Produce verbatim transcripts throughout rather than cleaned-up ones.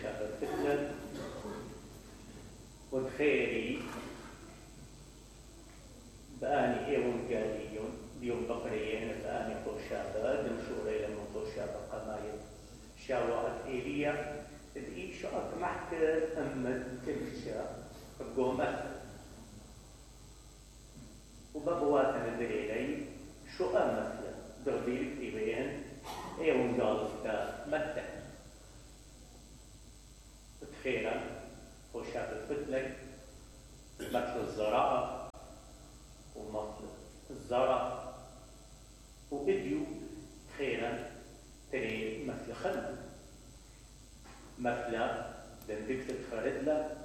شاب فتلة ودخيري بآني ايون قاليون بيوم بقريين بآني قرشابة دمشوري لما قرشابة قمايل شاوات إيليا دقي شو أطمحت أمد تلشا قومت وبابواتنا دليلي شو أمثل دربيل إيبين ايون قالفتا مدى تخيرا قرشابة فتلة مثل الزراعة ومثل الزرع وإديو خيرا تري مثل خلق مثل دندكت خردلة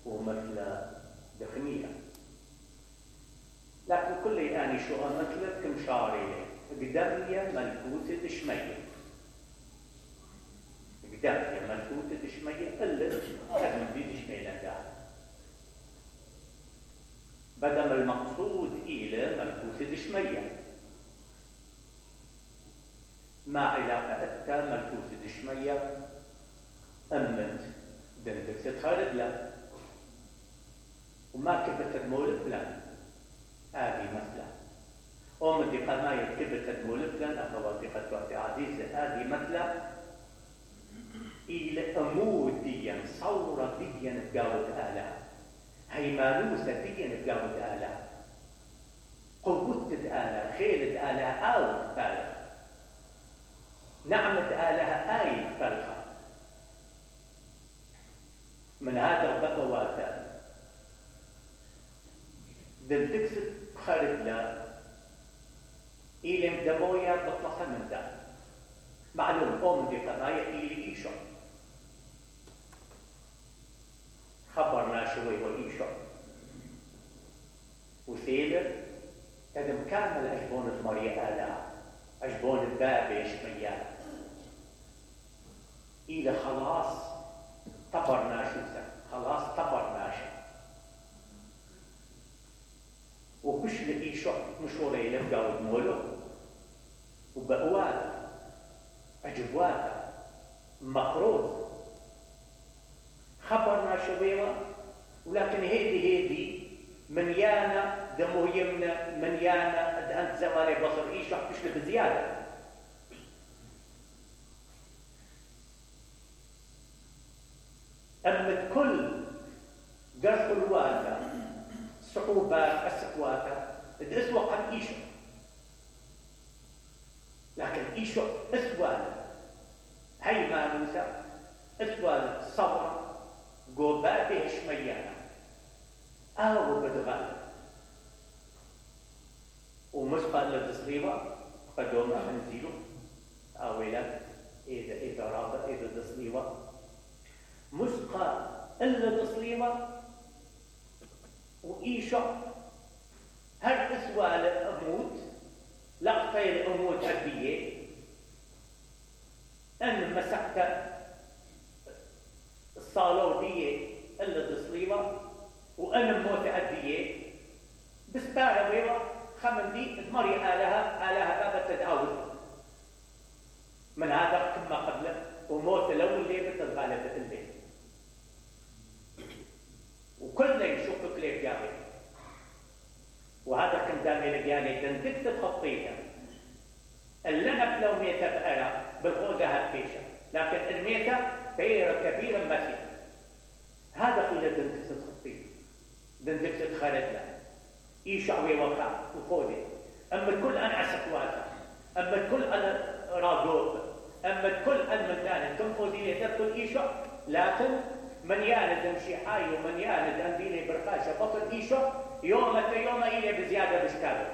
ومثل دخمية لكن كل آني شو مثل كم شعري قدامية ملكوت دشمية قدامية ملكوت دشمية إلا كان بي دشمية لنقاعد بدل المقصود إلى ملكوت دشمية ما علاقة أتى ملكوت دشمية أمت دندك تتخارج له وما كبت تدمول فلان هذه مثلا أم دي قماية كبت تدمول فلان أخواتي قد وقتي عزيزة هذه مثلا إلى أمود ديا صورة ديا بقاوة آلام هيمانوسة ديا بقاوة آلام قوة آلة خيلة آلة أو فارغ نعمة آلها آي فرخة من هذا البقوات دلتكسد خارج لا إلي مدمويا بطلقا من ذا معلوم أم دي قضايا إلي إيشو خبرنا شوي وإيشو وثيلر هذا مكامل أجبون المريا آلا أجبون الباب يشميان إلى خلاص طبرنا شوزا خلاص طبرنا شو وكش لإيشو مشوري لفقاو دمولو وبقوات أجبوات مقروض خبرنا شويوة ولكن هيدي هيدي من يانا دمو يمنا من يانا أنت زوالي بصر إيشو حتشل بزيادة أمت كل قرص الواتا صعوبات السقواتا الاسوى قد إيشو لكن إيشو اسوال هاي ما ننسى اسوال صبر قوباته شميانا أو بدغال ومسقى للتصليوة قدوما منزيلو أولا إذا إذا رابط إذا تصليوة مسقى إلا تصليوة وإيشو هل اسوال أموت لقطي الأموت عبية أن مسحت الصالودية إلا تصليوة وأنا موت عدية بسبارة بيضة خمن دي تمري آلها آلها بابا تدعوز من هذا كما قبله وموت الأول ليه بتتغالب الليل وكل يشوفك ليه جاوي وهذا كان دامي لجاني دندك تتخطيها اللي نبلو ميتة بأرى بالغوزة هالفيشة لكن الميتة بيرة كبيرة مسيح هذا خلال دندك تتخطيها دندك تتخرج له يشعوي وقع وخودي أما الكل أنا عسكواتا أما الكل أنا راجوب أما الكل أنا مدانا كم خودية تبكل إيشو لكن من ياند امشي حي ومن ياند أنديني برقاشة بطل إيشو يوم يوم إلي بزيادة بشكابه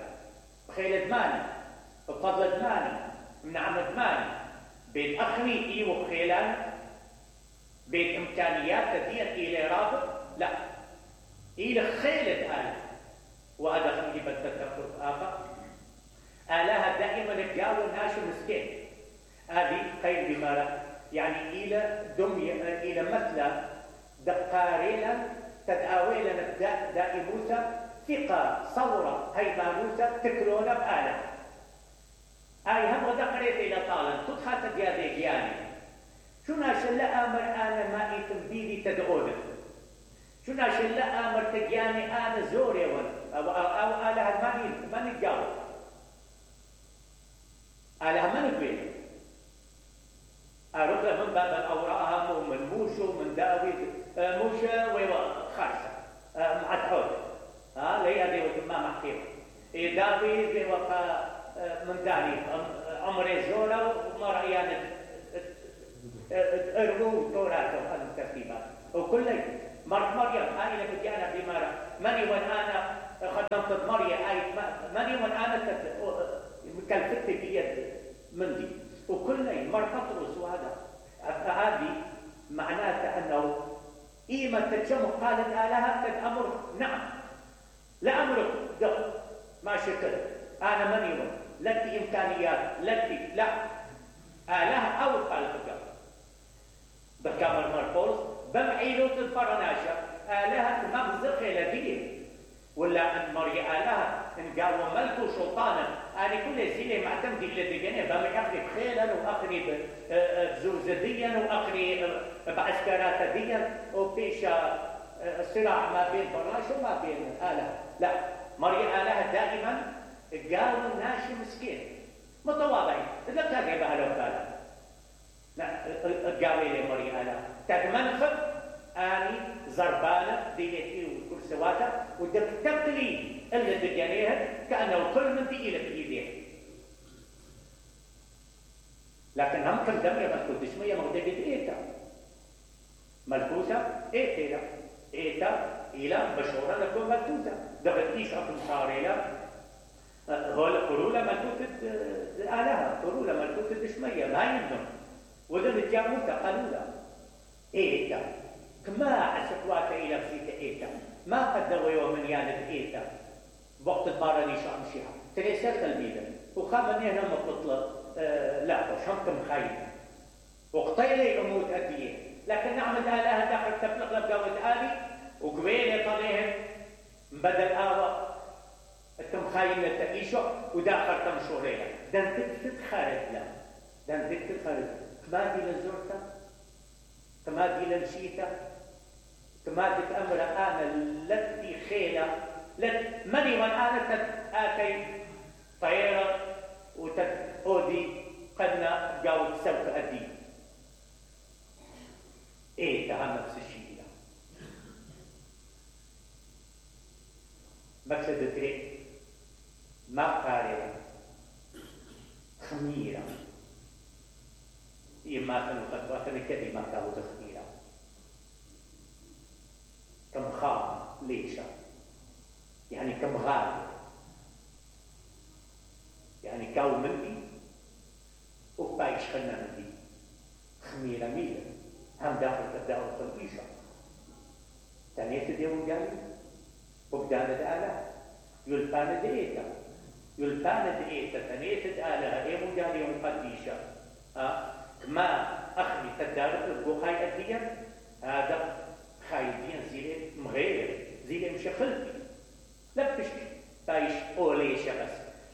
بخيل دماني بفضل دماني من عم دماني بيت أخني إيو بخيلان بيت إمكانيات تدين إلي رابط لا إلي خيلة آلة وهذا خلي بتتذكر آخر آلها دائما الجاو الناس مسكين هذه خير بمارة يعني إلى دمية إلى مثل دقارينا تدعوينا نبدأ دائموتا ثقة صورة هيمانوتا تكرونا بآلة هاي هم غدا قريت إلى طالب تدخل تديادي جياني شو ناشل لا امر انا ما ايتم بيدي تدعوني شو ناشل لا امر تجاني انا زوري ون او او, أو اله ما ما نتجاوب اله ما نقبل اروح من باب الاوراق ومن موشو من داوي موشة وخارسة مع تعود ها لي ادي وما محكيم داوي وفا من داني عمري زولا وما رأيان ارمو توراته وهذه الترتيبات وكل مرت مريم هاي اللي بتجانا بمرة ماني وان انا خدمت مريم هاي ماني وان انا كلفت بيد مندي وكل مرت تطرس وهذا هذه معناتها انه قيمة تتشم قالت آلهة قد أمر نعم لا أمرك دخل ما شكل أنا ماني وان لك إمكانيات لك لا آلهة أو خالق الجبر بكامل مرفوض بمعيلوت الفرناشة آلهة مغزق لدين ولا أن مري آلهة إن قاوم ملك وسلطانا أنا كل زيلة معتمد اللي دقني بمي أخري بخيلا وأخري بزوزديا وأخري بعسكرات ديا وبيشا صراع ما بين فرناش وما بين آلهة لا مري آلهة دائما قاوم ناشي مسكين متواضعين إذا كان يبقى له كلام قاوي لي مري آلهة تدمنخب اني زربانه ديتي وكل سواتا ودك تقلي اللي دقانيها كانه كل من دي لك ايديه لكن هم كم دم يا ملكوت اسميه مغدبت ايتا ملكوته ايتا ايتا الى بشوره لكم ملكوته دغت ايش اكم صاريلا هول قرولا ملكوت الالهه قرولا ملكوت الاسميه ما يندم وذن الجاموته قالولا ايتا كما عسكوات إلى فيك إيتا ما قدروا يوم من ياند إيتا وقت المارني شامشيها تريسر تلميذا وخامني هنا مطلط آه لا شمكم خايف وقتيلي أموت أديه لكن نعمل آلهة داخل تبلغ لبقاوة آلي وقبيلي طليهم بدل آوة التم خايلة تأيشو وداخل تم شوريها دان تكتت خارج لا دان تكتت خارج ما دي لزورتا كما دي لمشيتا كما دي أمر أنا التي خيلة لت مني من أنا آتي طيرة وتأودي قدنا جاوب سوف أدي إيه ده نفس الشيء ده مقصد تري ما قارئة خميرة إما كانوا خطوات كلمة كانوا تخميرة كم خام ليشة يعني كم غالي يعني كاو مندي وبايش خلنا مندي خميرة ميلة هم داخل تبدأوا تنقيشة تانية ديون قالي وبدانا دآلة يلبانا دئيتا يلبانا دئيتا تانية دآلة ايمو قالي ومقديشة ها ما أخلي تدارك البوخاي أديا هذا خايدين زيلي مغير زيلي مشخلتي لا بشكي بايش أوليشة بس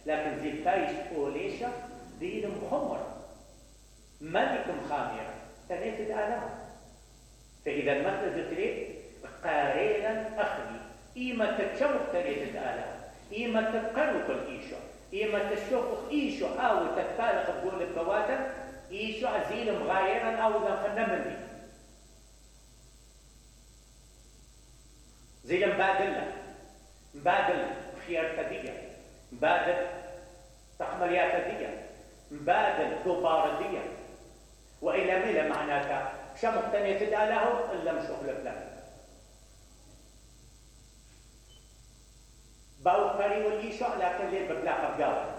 لكن زي بايش أوليشة زيلي مخمر ملك مخامرة تنيت الآلام فإذا المثل ذكري قاريلا أخلي إيما تتشوق تنيت الآلام إيما تتقرق الإيشة إيما تشوق إيشة أو تتفارق بقول البوادم إيشو عزيل مغايرا أو ذا مني زي مبادلة مبادل خيار تدية مبادل تحمليات تدية مبادل دوبار دية وإلى ميلة معناتها شمق تانية تداله إلا مشوخ لفلان باو قري والإيشو لكن ليه ببلاقة بقاوة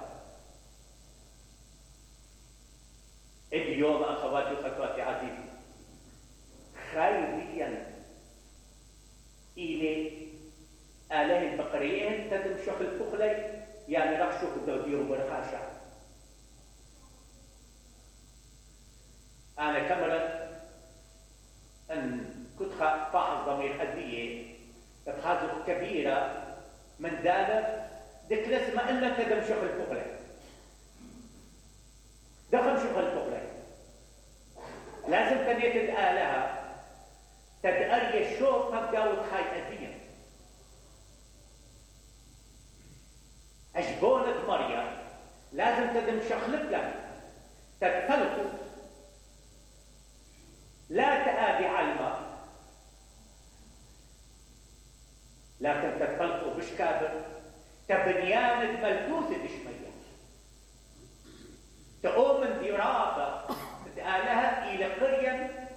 اليوم أخواتي وأخواتي عزيزي خيريا إلي آله البقريين تدم شوخ الفخلي يعني رح شوخ الدودير وبرخاشا أنا كمرت أن كنت فاحظ ضمير أدية بتخاذف كبيرة من دالة دك لسما إلا تدم شوخ الفخلي دخل شوخ الفخلي لازم بنيت الآلها تدأري الشوق هبداوت خاي أديا أجبونت مريم لازم تدم شخلب لها تتفلقوا لا تآبي على الماء لكن تتفلقوا بش كابر تبنيان ملتوث دشمية تقوم من درابة تآلها إلى قرية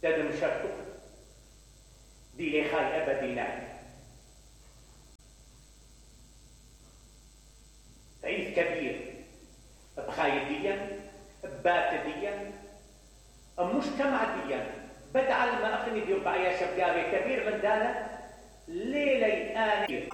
تدم شرطه دي لي خاي أبدي ناي عيد كبير بخايديا بباتديا مجتمع ديا بدعا لما أخني دي ربع يا شبقابي كبير من دانا ليلة آنير